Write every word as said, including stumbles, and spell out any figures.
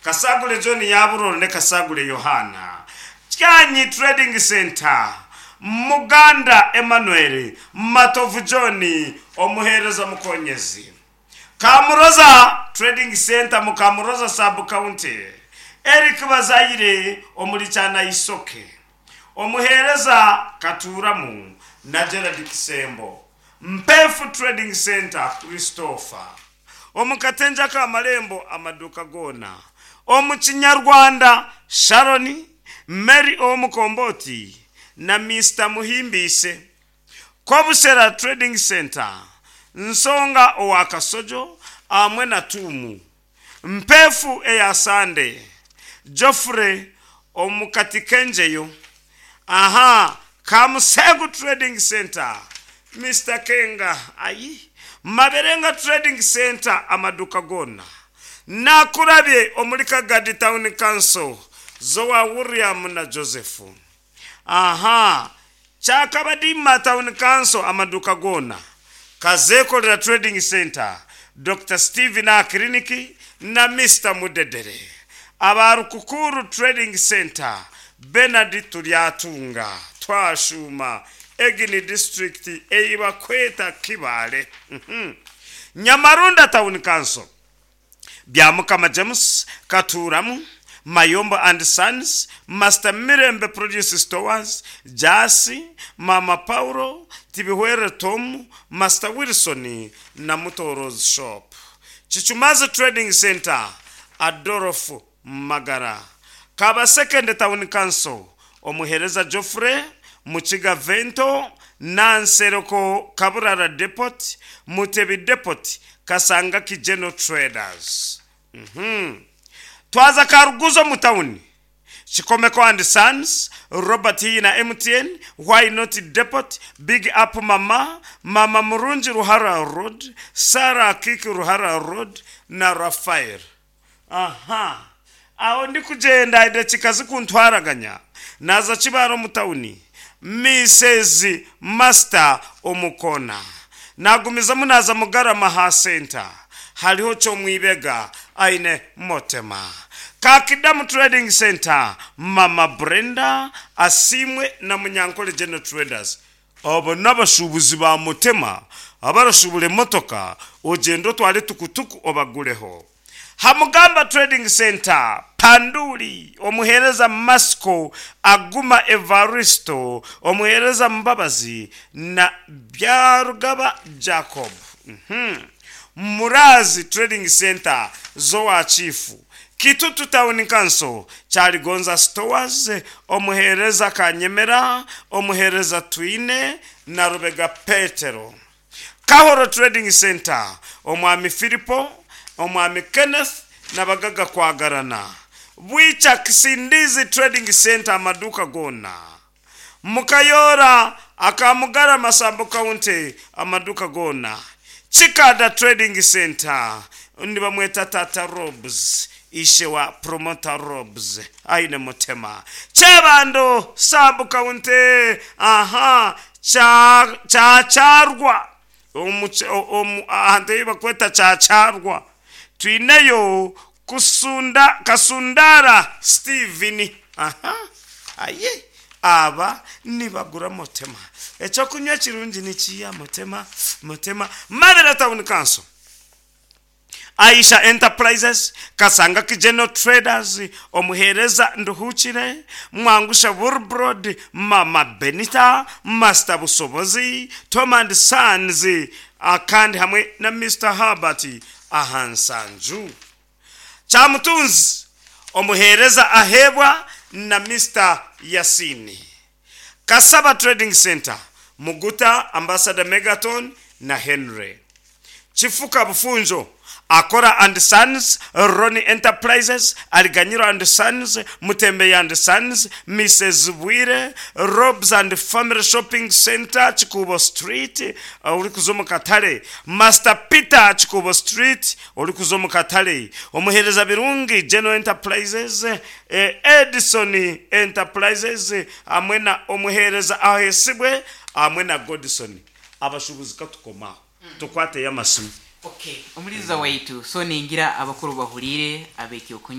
Kasagule John Yaburoro ne Kasagule Yohana. Kyanyi Trading Center, Muganda Emmanuel, Matovu John, omuheereza Mukonyezi. Kamuroza Trading Center mu Kamuroza Sub County, Eric Bazaire omuri Kyanayisoke, omuheereza Katuramu na Gerard Kisembo. Mpefu Trading Center, Christopher omu Katenja k'Amarembo, amaduuka goona omu Kinyarwanda, Sharon Mary ow'Omukomboti na Mr Muhimbise. Kobushera Trading Center, Nsonga owa Kasojo hamwe na Tuumu. Mpefu eya Sande, Geoffrey omu Katikenjeyo. Aha Kamusegu Trading Center, Mr Kenga. Ayi Maberenga Trading Center, amaduka gona nakurabye omuri Kagadi Town Council, Zowa William na Joseph. Aha Kyakabadima Town Council, amaduka gona. Kazekolera Trading Center, Dr Steven Akiriniki na Mr Mudedere. Abarukukuru Trading Center, Bernard Turyatunga. Twashuma Egini District eibakweta Kibale. Mhm. Nyamarunda Town Council, Byamukama James Katuramu, Mayombo and Sons, Master Mirembe Produce Stores, Jasi, Mama Paulo Tibihwere, Tom, Master Wilson na Mutoros Shop. Chichumazi Trading Center, Adolf Magara. Kaba Second Town Council, omuhereza Geoffrey Mukiga, Vento Nansereko, Kaburara Depot, Mutebi Depot, Kasanga Kijeno Traders. mm-hmm. Twaza Karuguzo mu tawuni, Chikomeko and Sons, Robert na M T N, Why Not Depot, Big Up Mama, Mama Murungi, Ruhara Road, Sarah Kiki, Ruhara Road na Rafael. Aha aho ndi kugenda edakika zikuntwaraganya naza Kibaro mu tawuni, Mrs Master Omukona. Nagumizamu naza Mugarama ha center, hariho Kyomwibega aine Motema. Kakidamu Trading Center, Mama Brenda Asimwe na Munyankole General Traders. Abo n'abashubuzi ba Mutema abarashubura emotoka, ogenda otware tukutuku obagureho. Hamugamba Trading Center, Panduli, omuhereza Masco Aguma, Evaristo, omuhereza Mbabazi na Byarugaba Jacob. mm-hmm. Murazi Trading Center, Zoa Chifu. Kitutu Town Council, Kyaligonza Stores, omuhereza Kanyemera, omuhereza Twine na Rubega Petero. Kahoro Trading Center, omwami Filipo, omwami Kenneth nabagaga kwagarana. Bwica Kisindizi Trading Center, amaduka gona. Mukayora akamugara Masambo County, amaduka gona. Chikada Trading Center, nibamweta Tata Robs, ishe wa Promoter Robs aine Mutema. Kyebando Sub County, aha Kyacharwa, ahantu bakweta Kyacharwa, twineyo Kusunda, Kasundara Steven. Aha aye aba nibagura Mutema. Ekyokunywa kirungi nikiya Mutema. Mutema Mabera Town Council, Aisha Enterprises, Kasanga Kijeno Traders, omuhereza Nduhukire, Mwangusha Burbrod, Mama Benita, Master Busobozi, Tom and Sons, akandi hamwe na Mr Herbert Ahansanju. Kyamutunzi, omuhereza Ahebwa na Mr Yasini. Kasaba Trading Center, Muguta, Ambassador Megaton na Henry. Chifuka Bufunjo, Akora and Sons, Ronnie Enterprises, Aliganyiro and Sons, Mutembe and Sons, Mrs Bwire, Robs and Family Shopping Center, Chikubo Street, uri kuza omu katare, Master Peter, Chikubo Street, uri kuza omu katare, omuhereza Birungi, General Enterprises, eh, Edison Enterprises, hamwe na omuhereza Ahesibwe hamwe na Godson. Abashubuzi katukomaho tukwateyo amasimu. Okay, omuliza waitu, so ningira abakuru bahuriire ab'ekyokunywa.